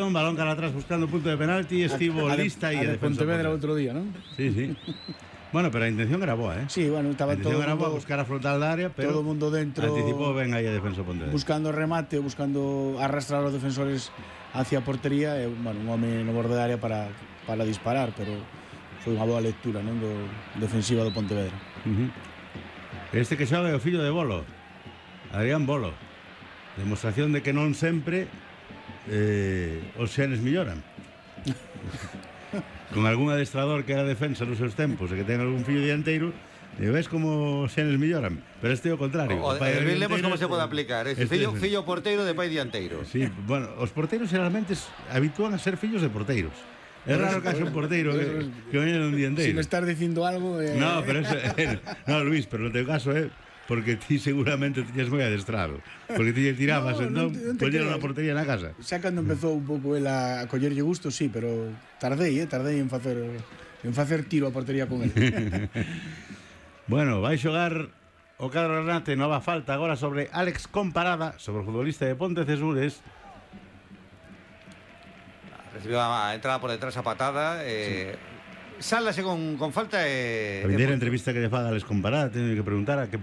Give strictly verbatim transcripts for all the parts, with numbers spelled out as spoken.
balón cara atrás buscando punto de penalti, estivo a de, lista e a de Pontevedra outro día, non? Sí, sí. Bueno, pero a intención era boa, ¿eh? Sí, bueno, estaba a todo era mundo, boa, buscar a frontal da área, pero todo o mundo dentro anticipou ben aí a defensa Pontevedra. Buscando remate, buscando arrastrar os defensores hacia a portería e, bueno, un home no borde da área para, para disparar, pero foi unha boa lectura, non, do defensiva do Pontevedra. Uh-huh. Este que xoga é o fillo de Bolo, Adrián Bolo. Demostración de que non sempre eh, os xenes melloran. Con algún adestrador que era defensa nos seus tempos e que ten algún fillo dianteiro, e ves como os xenes melloran, pero este é o contrario. O, o, vemos como se pode aplicar. Este este fillo, fillo porteiro de pai dianteiro. Sí, bueno, os porteiros generalmente habitúan a ser fillos de porteiros. É raro que haxa un porteiro que, que venha un dianteiro. Si me estás dicindo algo... Eh... No, pero eso, eh, no, Luis, pero no teu caso é... Eh, porque ti seguramente tiñas moi adestrado. Porque ti tirabas, no, entón, no poñeron a portería na casa. Xa cando empezou un pouco el a collerlle gusto, sí, pero tardei, eh, tardei en facer en facer tiro a portería con el. Bueno, vai xogar o cadro Granate, nova falta agora sobre Alex Comparada, sobre o futbolista de Pontecesures. Recibiu a entrada por detrás a patada, eh... sí. Sálase con, con falta e... A primeira entrevista que lle faga Alex Comparada, teño que preguntar a que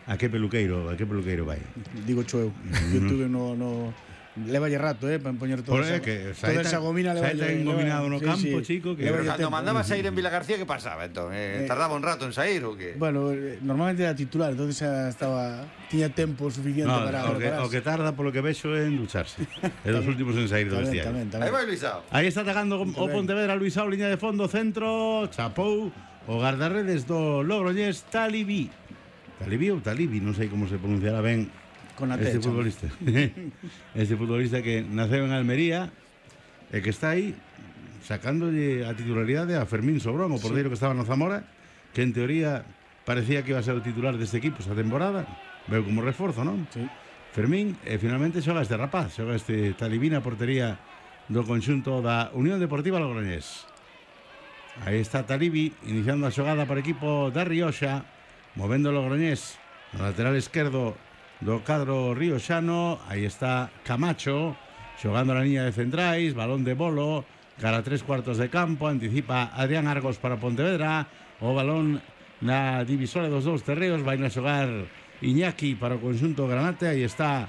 a que peluqueiro, a que peluqueiro vai. Digo cho eu, eu tuve no, no levalle rato, eh, para poñer todo esa, que, toda esa gomina levalle. Xa está engominado no sí, campo, sí. chico, que pero cando mandaba sair en Vila García, que pasaba, entón? Eh, eh, tardaba un rato en sair ou que? Bueno, eh, normalmente era titular, entonces xa estaba tiña tempo suficiente no, para o que, o que tarda polo que vexo é en ducharse. É dos últimos en sair do vestiario. Tamén, tamén. Aí vai Luisao. Aí está atacando o Pontevedra, Luisao, liña de fondo, centro, chapou o guardarredes do Logroñés, Talibí. Talibí ou Talibi, non sei como se pronunciará ben con este futbolista. Este futbolista que naceu en Almería e que está aí sacándolle a titularidade a Fermín Sobrón, o porteiro sí. que estaba no Zamora, que en teoría parecía que iba a ser o titular deste equipo esta temporada, veo como reforzo, non? Sí. Fermín, e finalmente xoga este rapaz, xoga este Talibí na portería do conxunto da Unión Deportiva Logroñés. Aí está Talibi iniciando a xogada para o equipo da Rioxa, movendo o Logroñés no lateral esquerdo do cadro rioxano. Aí está Camacho xogando na liña de centrais, balón de Bolo cara a tres cuartos de campo, anticipa Adrián Argos para Pontevedra, o balón na divisora dos dous terreos, vai a xogar Iñaki para o conxunto Granate. Aí está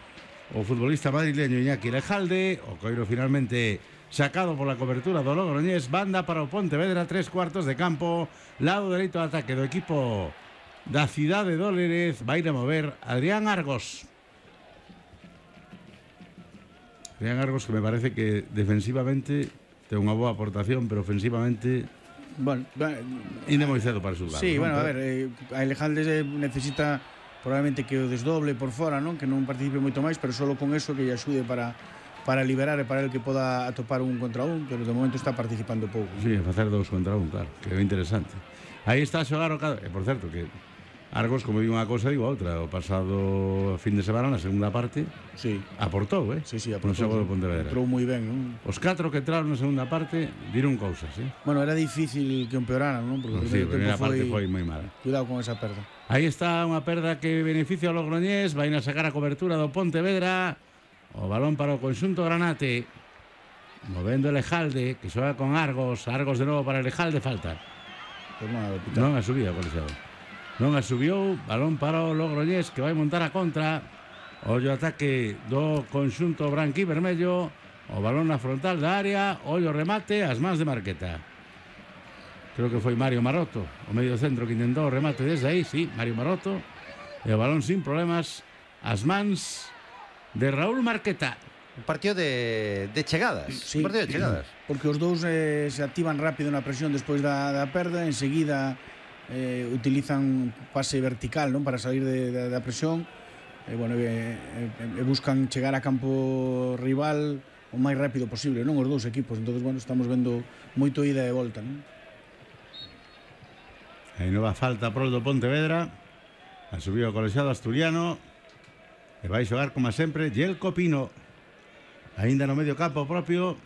o futbolista madrileño Iñaki Lejalde, o coiro finalmente sacado por la cobertura do Logroñés, banda para o Pontevedra, tres cuartos de campo, lado dereito de ataque do equipo da cidade de Lérez, vai a mover Adrián Argos. Adrián Argos, que me parece que defensivamente ten unha boa aportación, pero ofensivamente bueno, inde moi cedo para xulgar. Sí, ¿no? bueno, a ver, eh, a Elejalde necesita probablemente que o desdoble por fora, non? Que non participe moito máis, pero solo con eso que lle axude para para liberar e para el que poda atopar un contra un, pero de momento está participando pouco. Sí, facer dous contra un, claro, que é interesante. Aí está a xogar o cadro, e por certo que Argos, como digo unha cosa, digo outra. O pasado fin de semana, na segunda parte, sí. aportou, eh? Sí, sí, aportou. No xogo do Pontevedra. Entrou moi ben, non? Os catro que entraron na segunda parte viron cousas, eh? Bueno, era difícil que empeoraran, non? No, Porque sí, a primeira parte foi... foi moi mala. Cuidado con esa perda. Aí está unha perda que beneficia ao Logroñés, vai a sacar a cobertura do Pontevedra. O balón para o conxunto Granate. Movendo Elejalde, que xoga con Argos. Argos de novo para Elejalde, falta. Pues nada, non a subía, colexiado. Non a subiu, balón para o Logroñés, que vai montar a contra. Ollo ataque do conxunto branqui vermello. O balón na frontal da área. Ollo remate, as mans de Marqueta. Creo que foi Mario Maroto, o medio centro que intentou o remate desde aí, sí, Mario Maroto. E o balón sin problemas, as mans de Raúl Marqueta. Un partido de, de chegadas. Sí, un partido de chegadas. Porque os dous eh, se activan rápido na presión despois da, da perda, enseguida eh, utilizan pase vertical, non, para salir de, de, da presión, e, bueno, e, e, e buscan chegar a campo rival o máis rápido posible, non, os dous equipos. Entonces, bueno, estamos vendo moito ida e volta, non? Aí nova falta pro do Pontevedra. A subiu o colexiado asturiano e vai xogar como sempre Yelko Pino, aínda no medio campo propio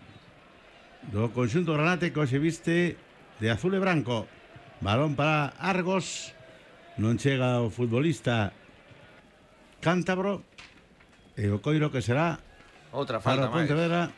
do conxunto Granate, que hoxe viste de azul e branco. Balón para Argos, non chega o futbolista cántabro, e o coiro que será outra falta para Pontevedra.